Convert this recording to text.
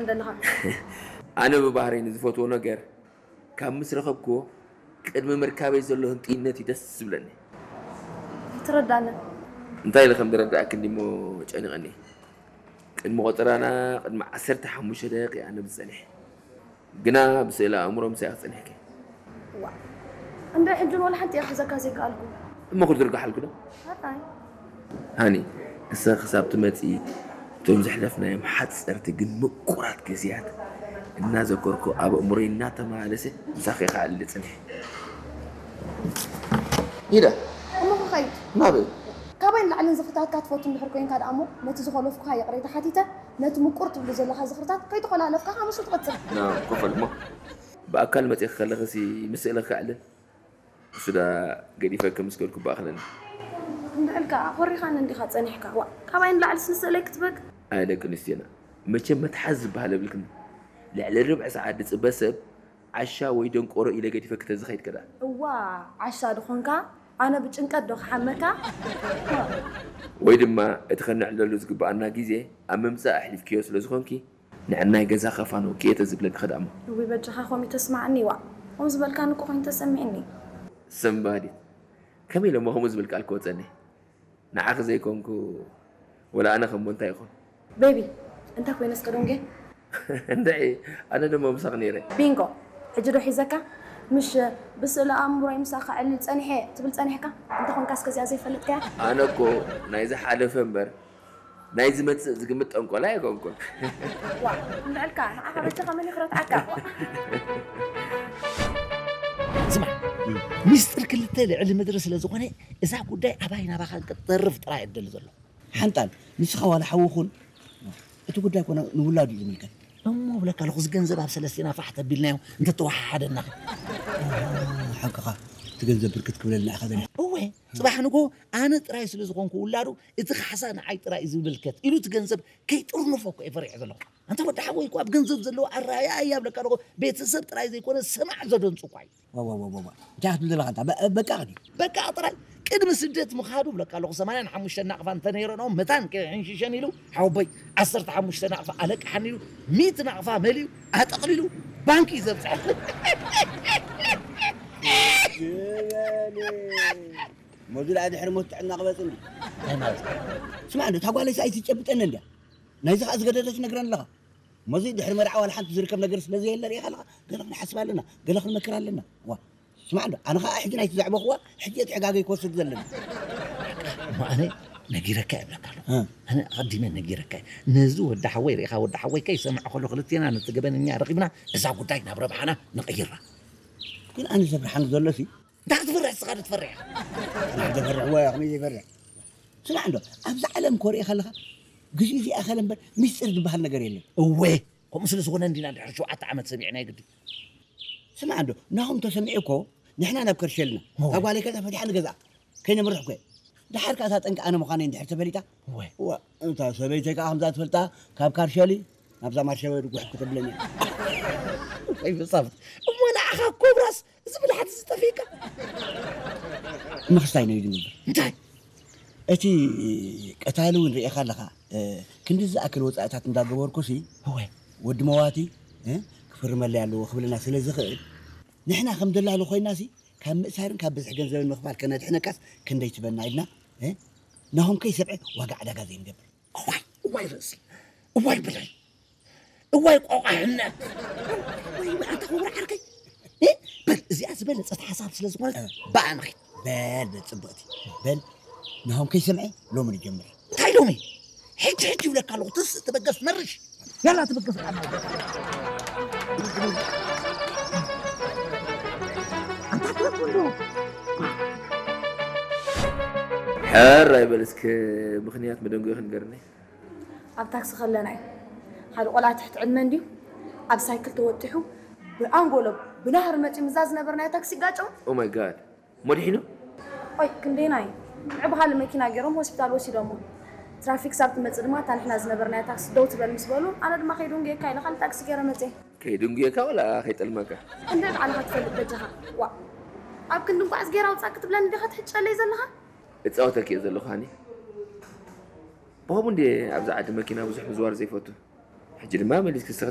እንደለኻ። ኣነ ብባህረይ ንዝፈትዎ ነገር ካብ ምስ ረኸብክዎ ቅድሚ ምርካበይ ዘሎ ህንጥይነት እዩ ደስ ዝብለኒ። ኣይትረዳንን። እንታይ ኢለ ከም ዝረዳእክ እንዲሞ ጨኒቐኒ። ቅድሚ ቆጠራና ቅድሚ ዓሰርተ ሓሙሽተ ደቂቕ ኣነ ብዝጸኒሐ ግና ብስእለ ኣእምሮ ምሳይ ክጸኒሕኪ። ዋ እንደ ሕጂ ወላ ሓንቲ እያ ክሕዘካ ዘይከኣልኩ። እሞ ክዝርግሓልኩ ዶ? ኣታይ ሃኒ፣ እሰ ክሳብ ትመጺ እቶም ዘሕለፍናዮም ሓጸርቲ ግን ምቁራት ግዜያት እናዘከርኩ ኣብ ኣእምሮይ እናተመላለሰ ምሳኺ ክኣሊ ጽኒሐ። ኢዳ እሞ ክኸይድ ናበይ? ካባይ ንላዕልን ዝኽርታትካ ትፈቱ እንድሕር ኮይንካ ደኣ እሞ ነቲ ዝኾለፍኩኻ ይቕሬታ ሓቲተ ነቲ ምቁር ትብሉ ዘለኻ ዝኽርታት ከይተኾላለፍካ ሓሙሱ ትቐጽል። ናብ ኮፈል እሞ ብኣካል መጺኺ ከለኽሲ ምስእለ ክዕልል እሱ ዳ ገዲፈኪ ምስ ከድኩ ብኣኽለኒ። እንድዕልካ ኮሪኻኒ እንዲኻ ጸኒሕካ ዋ ካባይ ንላዕልስ ንስእለይ ክትበክ። ኣይ ደቂ ኣንስትዮና መቸም መትሓዚ ዝበሃል የብልክን። ልዕሊ ርብዒ ሰዓት ዝጽበ ሰብ ዓሻ ወይ ደንቆሮ ኢለ ገዲፈኪ ተዝኸይድ ከዳ። እዋ ዓሻ ድኾንካ ኣነ ብጭንቀት ዶ ክሓመካ። ወይ ድማ እቲ ከነዕልለሉ ዝግብኣና ግዜ ኣብ ምምጻእ ኣሕሊፍክዮ ስለ ዝኾንኪ ንዕናይ ገዛ ከፋንወኪ እየ ተዝብለኪ ከዳሞ። እውይ በጃኻ ከምኡ ተስማዓኒ ዋእ። ከምኡ ዝበልካኒ እኮ ኮይኑ ተሰሚዕኒ። ሰንባዲት ከመይ ኢለ እሞ ከምኡ ዝብል ቃል ክወፀኒ? ንዓኺ ዘይኮንኩ ወላ ኣነ ከሞ እንታይ ይኾን? ቤቢ እንታይ ኮይነ እስከ ዶንጌ? እንድዒ ኣነ ድማ ምሳኺ ነይረ። ቢንጎ ሕጂ ዶ ሒዘካ? ምሽ ብስእሊ ኣእምሮይ ምሳኻ ከዕልል ጸኒሐ ትብል ጸኒሕካ? እንተኾንካ እስከ እዚኣ ዘይፈልጥካያ? ኣነ እኮ ናይ ዝሓለፈ እምበር ናይ ዝመጽእ ዝግምት ጠንቆላ ኣይኮንኩን። ዋ እንድዕልካ ንዓኻ በጃኻ መን ይኽረትዓካ? ስማዕ ሚስጥር ክልተ ልዕሊ ምድሪ ስለ ዝኾነ እዛ ጉዳይ ኣባይ ናባኻን ክትተርፍ ጥራይ እደሊ ዘሎ። ሓንጣል ንስኻ ዋላ ሓዊ ኹን እቲ ጉዳይ ኮነ ንውላዱ እዩ ዝምልከት። እሞ ብለካ ኣለኹ እዚ ገንዘብ ኣብ ሰለስቲና ፋሕ ተቢልናዮ እንተተወሓሓደና። ሓቅኻ እቲ ገንዘብ ብርክት ክብለልና ኢኻ ደሊኻ። እወ ጽባሕ ንጎ ኣነ ጥራይ ስለ ዝኾንኩ ውላዱ እቲ ካሕሳ ንዓይ ጥራይ እዩ ዝምልከት ኢሉ እቲ ገንዘብ ከይጥርንፎ እኮ እየ ፈሪሐ ዘለኹ። ኣንታ ወዲ ሓወይ እኮ ኣብ ገንዘብ ዘለዎ ኣረኣእያ እያ ብለካ ኣለኹ ቤተሰብ ጥራይ ዘይኮነ ሰማዕ ዘደንጹ እኳ እዩ። ዋዋዋዋዋ እንታይ ክትብል ዘለኻ ኣንታ በቃ ድዩ? በቃ ጥራይ ቅድሚ ስደት ምኻዱ ብለካ ኣለኹ ሰማንያን ሓሙሽተ ናቕፋ እንተነይረንኦም መታን ከይሕንሽሸን ኢሉ ሓወቦይ ዓሰርተ ሓሙሽተ ናቕፋ ኣለቅሓኒ ኢሉ ሚእቲ ናቕፋ መሊኡ ኣጠቕሊሉ ባንኪ እዩ ዘብፅሐ። ሞዚ ደኣ ድሕሪ ሞት ጥዕና ክመፅእ እንዲ እንታይ ማለት ስማዕ እንዶ እታ ጓለይስ ኣይትጨብጠኒ እንድያ ናይዚ ከዓ ዝገደደት ነግረን ኣለኻ ሞዚ ድሕሪ መርዓ ዋላ ሓንቲ ዝርከብ ነገር ስለ ዘየለ ርኢኻ ኣለኻ ገለ ክንሓስብ ኣለና ገለ ክንመክር ኣለና ዋ ስማዕ እንዶ ኣነ ከዓ ሕጂ ናይቲ ዘዕበኽዋ ሕጂ እቲ ሕጋገይ ክወስድ ዘለኒ እሞ ኣነ ነጊረካ እየ እብለካ ኣለኹ ኣነ ኣቐዲመ ነጊረካ እየ ነዚ ወዲ ሓወይ ርኢኻ ወዲ ሓወይ ከይሰምዐ ከሎ ክልቴና ነቲ ገበነኛ ረኺብና እዛ ጉዳይ ናብ ረብሓና ንቕይራ ግን ኣነ ዘፍርሓኒ ዘሎ ሲ እንታይ ክትፈርሕ እስኻ ዶ ትፈርሕ ኢኻ ዘፈርሕዎ ከመይ ዘይፈርሕ ስማዕ እንዶ ኣብዚ ዓለም ኮሪኤ ከለኻ ግዜ ዘይኣኸለ እምበር ሚስጥር ዝበሃል ነገር የለን እወ ከምኡ ስለ ዝኾነ እንዲና ድሕሪ ሸውዓተ ዓመት ሰሚዕና ይግዲ ስማዕ እንዶ ናኹም ተሰሚዑ እኮ ንሕና ናብ ከርሸልና ካብ ጓለይ ከዛ ፈቲሓ ንገዝኣ ከይነምርሕ እኮ ደሓር ከኣ እታ ጠንቂ ኣነ ምዃነይ እንድሕር ተፈሊጣ እወ እታ ሰበይተይ ከኣ ከምዛ ትፈልጣ ካብ ካርሸሊ ናብዛ ማርሸወ ድጉሕ ክትብለኒ ወይ ብጻብት እሞ ንዓኻ ኮብራስ እዚ ብልሓት እዚ ጠፊእካ ምኽስታይ ነዩ ዝንብር እንታይ እቲ ቀታሊ እውን ርኢኻ ኣለኻ ክንዲ ዝኣክል ወፃእታት እንዳገበርኩ ሲ እወ ወዲ መዋቲ ክፍርመለይ ኣለዎ ክብልና ስለ ዝኽእል ንሕና ከም ደላሉ ኮይና ሲ ካብ ምእሳርን ካብ ብዝሒ ገንዘብን ምኽፋል ከነድሕነካስ ክንደይ ትበና ኢልና ናሆም ከይሰብዐ ዋጋ ዕዳጋ ዘይንገብር እዋይ እዋይ ርእሲ እዋይ ብለይ እዋይ ቆቋሕነት ወይ ኣታ ክቡር ዓርከይ በል እዚኣ ዝበለፀት ሓሳብ ስለ ዝኾነት ብኣ ንኸይድ በል በል ፅብቕቲ በል ናሆም ከይሰምዐ ሎሚ ንጀምር እንታይ ሎሚ ሕጂ ሕጂ ይብለካ ኣለኹ ትስእ ትበገስ መርሽ ያላ ትበገስ ሕራይ በል እስከ ምኽንያት መደንጎ ክንገርኒ ኣብ ታክሲ ከለና እዩ ሓደ ቆልዓ ትሕቲ ዕድመ እንድዩ ኣብ ሳይክል ተወጢሑ ብኣንጎሎ ብናህሪ መፂኡ ምዛ ዝነበርናዮ ታክሲ ይጋጨው Oh my god መዲሒኑ ቆይ ክንደይና እዩ ምዕብኻሊ መኪና ገይሮም ሆስፒታል ወሲዶሞ ትራፊክ ሳብ ትመፅእ ድማ እታ ንሕና ዝነበርናያ ታክሲ ደው ትበል ምስ በሉ ኣነ ድማ ከይደንጉየካ ኢለ ካልእ ታክሲ ገይረ መፅየ ከይደንጉየካ ወላ ከይጠልመካ እንደ ባዕልኻ ትፈልጥ በጃኻ ዋ ኣብ ክንዲ እንኳዕስ ገይራ ውፃእ ክትብለኒ ዲኻ ትሕጨለይ ዘለኻ እፃወተኪ እየ ዘለኹ ሃኒ ብኸምኡ እንድየ ኣብዚ ዓዲ መኪና ብዙሕ ምዝዋር ዘይፈቱ ሕጂ ድማ መሊስኪ ንስኺ